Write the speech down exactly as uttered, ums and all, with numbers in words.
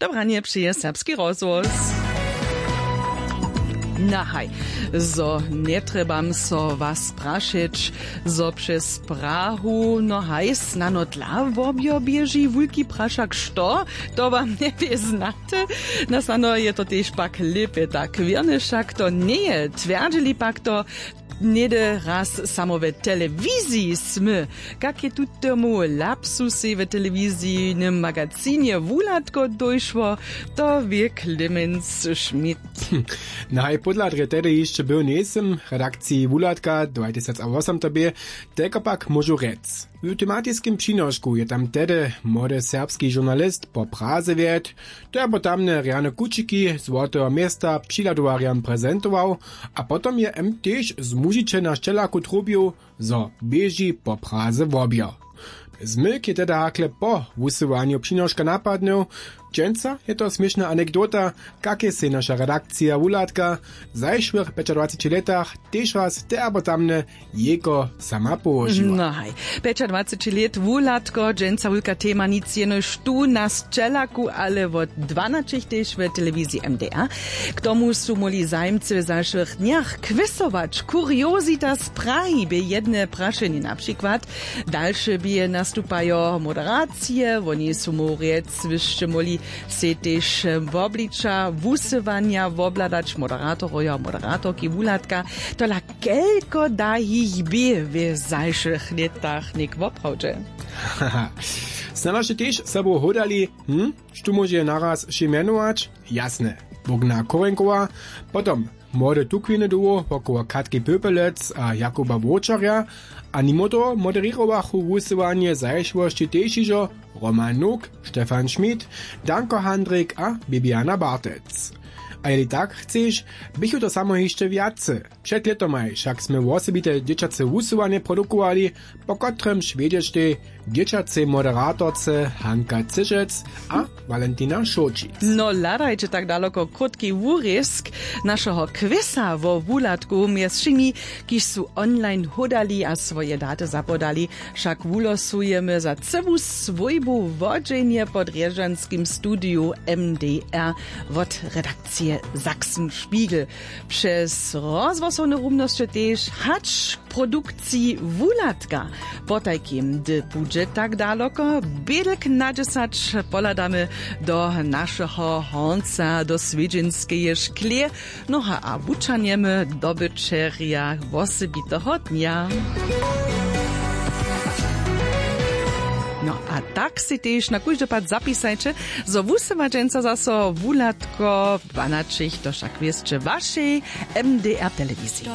Dobranje přeje Serbski rozhłos. Nahaj, zo njetrjebam so was prašeć, zo přez Prahu, no haj, snano dla wobjo běži wulki prašak, što? To wam njebě znate? Na snano je to tež pak lěpje tak wěrne, wšak to njeje, twjerdźili pak to. Něhdy raz samo w telewiziji smy, kak je tutomu lapsusej w telewizijnym magazinje wuhladko dóšło, to wě Clemens Schmidt. Naj pódla drje tehdy hišće był njejsym w redakciji wuhladka dwatysacawosomtobě, telko pak móžu rjec. W tematiskim přinošku je tam tehdy młody serbski žurnalist po praze wjedł, to je potamne rjane kućiki złoteho města přihladowarjam prezentował, a potom je m tež z mužiče na šćelaku trubił, zo běži po praze wobjo. Zmyk je teda hakle po wusyłanju přinoška napadnył. Dźensa je to směšna anekdota, kak je sej naša redakcija wuhladka w zašłych pjećadwaceći lětach tež raz te abo tamne jejko sama połožiła. No haj, pjećadwaceći lět wuhladko, dźensa wulka tema, nic jenož tu na sćelaku, ale wot dwanaćich tež w telewiziji M D R. K tomu su móhli zajimcy w zašłych dnjach kwisować. Kuriozita z Prahi bě jedne prašenje na přikład. Dalše bě nastupajo moderacije, woni su móhł rjec, wy sće móhli sej tež wobliča wusyłanja wobhladać, moderatorojo a moderatorki wuhladka. Tola kelko da jich bě w zašłych lětach něk woprawdźe? Snano sće tež sobu hódali, hm? Štó móže naraz wšě mjenować? Jasne, Bogna Korenkowa, potom młode tukwiny dołho wokoło Katki Pöpelec a Jakuba Wowčarja, a nimo toho moderěrowachu wusyłanje zašłosći tež hižo Roman Nuk, Stefan Schmidt, Danko Handrik a Bibiana Bartec. A jeli tak chceš, běchu to samo hišće wjace. Před lětomaj wšak smy wosebite dźěćace wusyłanje produkowali, po kotrymž wjedźeštej dźěćacej moderatorce Hanka Cyšec a Walentina Šołčic. No hladajće tak daloko krótki wurězk našeho kwisa wo wuhladku mjez wšěmi, kiž su online hódali a swoje daty zapodali. Wšak wulosujemy za cyłu swójbu wodźenje po drježdźanskim studiju M D R wot redakcije Sachsenspiegel. Přez rozhłosowne rumnosće tež hač k produkciji wuhladka. Potajkim, hdy budźe tak daloko, bědlk na dźesać pohladamy do našeho hornca, do swědźenskeje škleje. Noha a wučanjemy dobyćerja wosebiteho dnja. No a tak sej tež na kóždy pad zapisajće, zo wusyła dźensa zaso wuhladko dwanaćich, to wšak wěsće wašej M D R telewiziji.